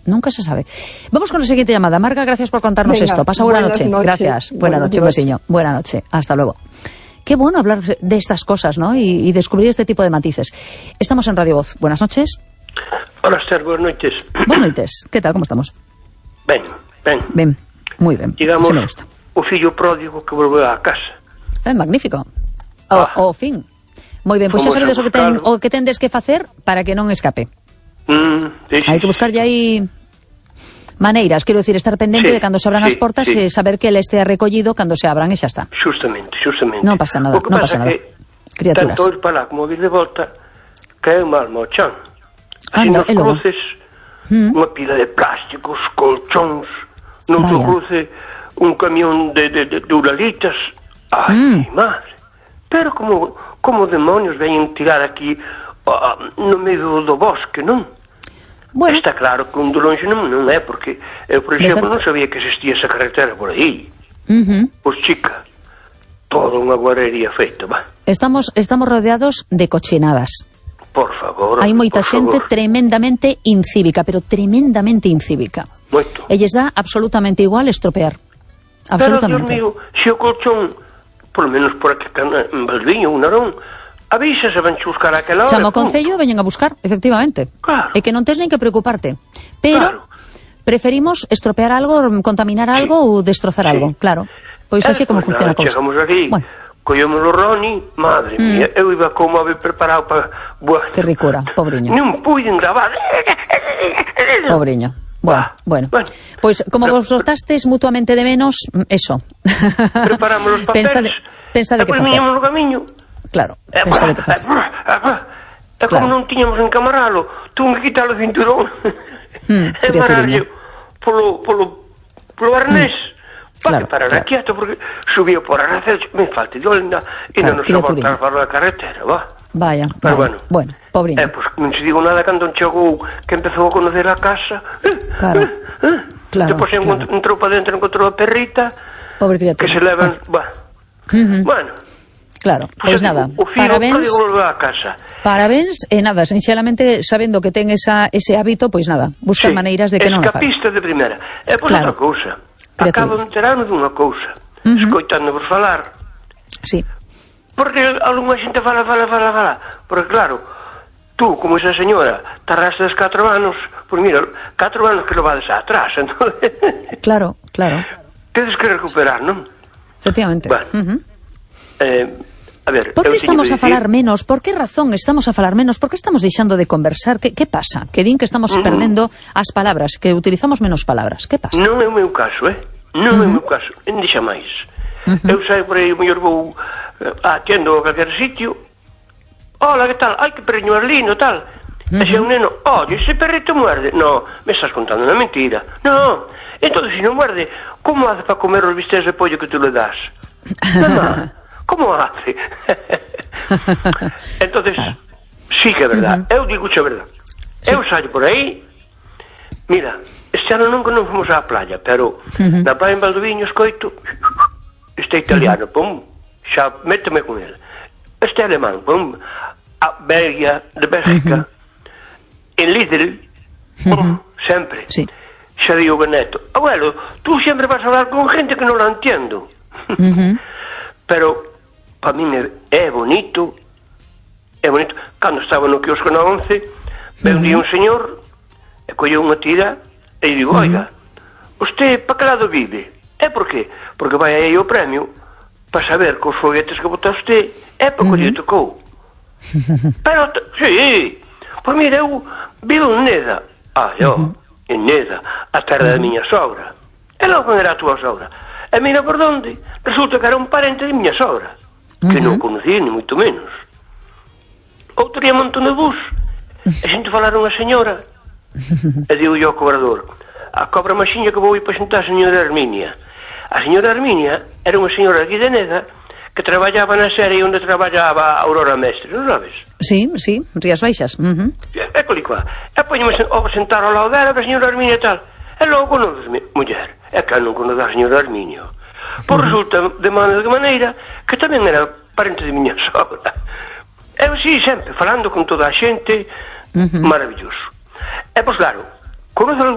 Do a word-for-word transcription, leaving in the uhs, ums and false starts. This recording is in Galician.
Nunca se sabe. Vamos con la siguiente llamada. Marga, gracias por contarnos Venga, esto. Pasa buena noche. noches. Gracias. Buena Buenas noche, un besiño. Buena noche. Hasta luego. Qué bueno hablar de estas cosas, ¿no? Y, y descubrir este tipo de matices. Estamos en Radio Voz. Buenas noches. Hola, Esther, buenas noches. Buenas noches. ¿Qué tal? ¿Cómo estamos? Ben, ben. Bien, muy bien. Digamos, Así me gusta. o fillo pródigo que volveu á casa. É magnífico. O, Ah. o fin. Moi ben, pois xa Fomos sabedes a o que, ten, buscalo. o que tendes que facer para que non escape. Mm, sí, sí, Hai que buscarlle aí maneiras, quero decir, estar pendente Sí, de cando se abran sí, as portas sí. e saber que ele estea recollido cando se abran e xa está. Justamente, justamente. Non pasa nada, O que non pasa pasa nada. que Criaturas. tanto ir para lá como vir de volta cae mal ao chan. Así Anda, nos e logo? cruces, Mm. unha pila de plásticos, colchóns, non Vaya. se cruce un camión de, de, de, de uralitas. Ai, Mm. madre. Pero como, como demonios veñen tirar aquí ah, no medio do bosque, non? Bueno, Está claro que un de longe non, non é, porque eu, por De exemplo, certo. non sabía que existía esa carretera por aí. uh-huh. Pois, chica, toda unha guarrería feita, va. estamos estamos rodeados de cochinadas. Por favor. Hai moita por xente favor. tremendamente incívica, pero tremendamente incívica. Moito. E lles dá absolutamente igual estropear. Pero, Dios Absolutamente. mío, se o colchón, por lo menos por aquí en Valviño, un narón, avisa se van buscar aquela hora. Chama o punto. Concello e veñen a buscar, efectivamente. Claro. E que non tes nen que preocuparte. Pero Claro. preferimos estropear algo, contaminar algo ou destrozar Sí. algo, claro. Pois así é como Despois funciona a nada, cousa. Chegamos aquí, Bueno, collemos o Roni, madre Mm. mía, eu iba como a ver preparado para... Bueno, que ricura, pobriño. non puiden gravar. Pobriño. Bueno, Ah, bueno. bueno. Pois como Pero- vos soltastes mutuamente de menos, eso. Preparamos os papeles. Pensa de, pensa de que depois facer. viñamos no camiño. Claro, E, pensa de que facer. e como Claro. non tiñamos en camaralo, tuve que quitar o cinturón Mm, e mararlle polo, polo, polo arnés. Para Claro, parar claro. quieto, porque subía por arnés, me falta de olenda, e Claro, non nos a criaturiña. voltar para a carretera, va. Vaya, Pero vaya. bueno. Bueno, pobriño. Eh, pois pues, non se digo nada cando chegou que empezou a conocer a casa. Claro, claro, Depois claro. entrou para dentro, encontrou a perrita, Pobre criatura. que se levan... Bah. Ujú. Bueno, Claro, pues pois nada. o fío Parabéns. pródigo volveu a casa. Parabéns e nada, sinxelamente sabendo que ten esa, ese hábito, pois nada, buscar Sí, maneiras de que non a faga. escapista de primeira. E pois Claro. outra cousa. Criatura. Acabo de enterarme dunha cousa. Ujú. Escoitando-vos falar. Sí, Porque algunha xente fala, fala, fala, fala. Porque claro, tú, como esa señora, tarrastes catro anos, pois mira, catro anos que lo vades atrás, entón... claro, claro, Tedes que recuperar, non? efectivamente. Bueno. Ujú. Eh, a ver, Por eu que teño estamos que a falar dicir- menos? Por que razón estamos a falar menos? Por que estamos deixando de conversar? Que, que pasa? Que din que estamos Mm. perdendo as palabras, que utilizamos menos palabras. Que pasa? Non é o meu caso, eh? Non é o meu caso, en dixa máis. Eu saio por aí, o mellor vou eh, a tienda ou a calquer sitio. Hola, que tal? Ai, que perriño máis lindo, tal. E se un neno, oye, ese perrito muerde. No, me estás contando unha mentira. No, entonces se non muerde, como hace para comer os bistecs de pollo que tú le das? Mamá, como hace? Entonces, sí que é verdad. Eu digo a verdad. Eu saio por aí. Mira, este ano nunca non fomos á playa, pero Ujú. na praia en Valdoviño escoito este italiano, pum, xa méteme con ele. Este alemán, pum, a Belgia, de Bélgica, en Lidl, pum, sempre. Sí. Xa digo Beneto, abuelo, tú sempre vas a hablar con gente que non la entiendo. Ujú. Pero para min é, é bonito, é bonito. Cando estaba no quiosco na once, ve un día un señor e colleu unha tira e digo, oiga, usted pa que lado vive? É por qué? Porque vai aí o premio para saber que os foguetes que bota usted é porque lle tocou. Pero, t- sí, pois mira, eu vivo en Neda. Ah, eu, en Neda, a terra da miña sogra. E logo era a tua sogra. E mira por onde, resulta que era un parente de miña sogra, que non conocí, ni moito menos. Outro día monto no bus, e xente falar unha señora, e digo yo ao cobrador, a cobra maxiña que vou ir para xentar a señora Herminia. A señora Herminia era unha señora aquí de Neda que traballaba na serie onde traballaba Aurora Mestre, non sabes? Sí, sí, Rías Baixas. Ujú. É colicua. E poñeme sen, ao sentar ao lado dela, a señora Herminia e tal. E logo conoces, muller, é que non conoce a señora Herminia. Pois resulta, de maneira de maneira, que tamén era parente de miña sogra. Eu sí, sempre, falando con toda a xente, maravilloso. E pois claro, conoce